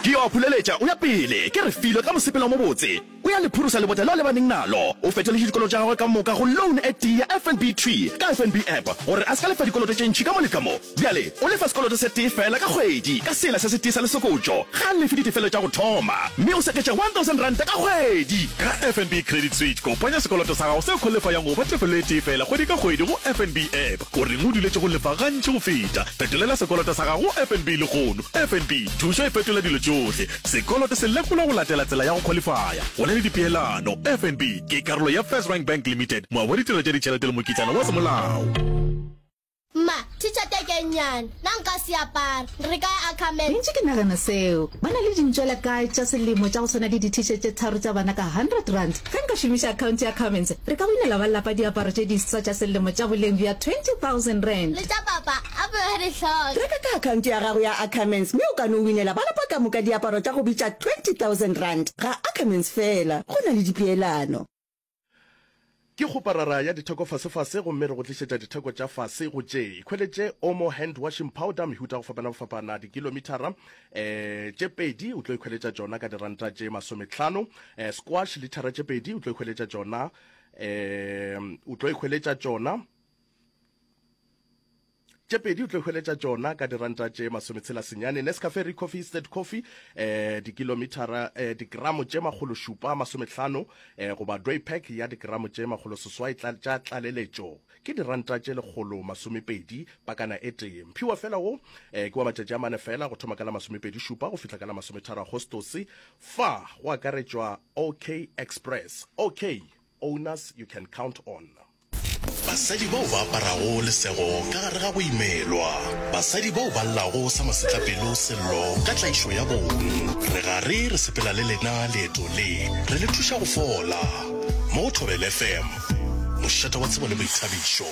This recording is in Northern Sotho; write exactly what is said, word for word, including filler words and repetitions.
Ke yo a phuleletša o ya pele, ke Refilwe ka mosepelo o mobotse. O ya le phurusa lebota leo a lebaneng nalo. O fetoletše dikoloto tša gagwe ka moka go loan e tee ya F N B thwi ka F N B app gore a se ka lefa dikoloto tše ntši ka mo le ka mo. Bjale o lefa sekoloto se tee fela ka kgwedi ka sela se setee sa lesokotšo. Ga a lefe ditefelo tša go thoma mme o seketša one thousand ranta ka kgwedi. Ka F N B Credit Switch, kopanya sekoloto sa gago se khwalifayang go ba tefelo e tee fela kgwedi ka kgwedi go F N B app. O reng o duletše go lefa gantši go feta? Fetolela sekoloto sa gago go F N B lehono. F N B, thušo e fetola dilo tšohle. Sekoloto se lekolwa go latela tsela ya go khwalifaya. Go na le dipeelano. F N B ke karolo ya First Rank Bank Limited, moabi wa ditirelo tša ditšhelete le mokitlana wa semolao. Mma, T-shirt e ke nnyane, nna nka se apara. Re ka ya Ackermans. Ke ntše ke nagana seo. Ba na le dintšwela kae tša selemo tša go swana le di-T-shirt tše tharo tša bana ka hundred rand? Ge nka šomiša akhaonte ya Ackermans, re ka winela ba lapa diaparo tše diswa tša selemo tša boleng bja twenty thousand rand. Le tša papa, a be ba di hloka. Reka ka akhaonte ya gago ya Ackermans mme o ka no winela ba lapa ka moka diaparo tša go bitša twenty thousand rand. Ga Ackermans fela, go na le dipeelano. Ke kgoparara ya ditheko fasefase gomme re go tlišetša ditheko tša fase go tše. Ikhweletše Omo hand washing powder mehuta go fapana go fapana dikilomithara eh tše pedi o tlo ikhweletša tšona ka diranta tše masometlhano. Eh squash lithara tše pedi o tlo ikhweletša tšona eh o tlo ikhweletša tšona tše pedi o tlo hweletša tšona ka diranta tše masometshela senyane. Nescafe Recoffee Instant Coffee eh dikilomithara eh digramo tše makgolo šupa masometlhano eh goba dway pack ya digramo tše makgolo seswai tša tlaleletšo ke diranta tše lekgolo masomepedi pakana e tee. Mphiwa fela wo eh ke wa matšatši a mane fela go thoma ka la masomepedi šupa go fihla ka la masometharo Agostose. Fa go akaretšwa OK Express. OK, owners you can count on. Basadi bao ba aparago lesego ka gare ga go imelwa, basadi bao ba llago sa masetlapelo sello ka tlaišo ya bong. Re gare re sepela le lena leeto le, re le thuša go fola. Mo go Thobela F M, mošate wa tsebo le boithabišo.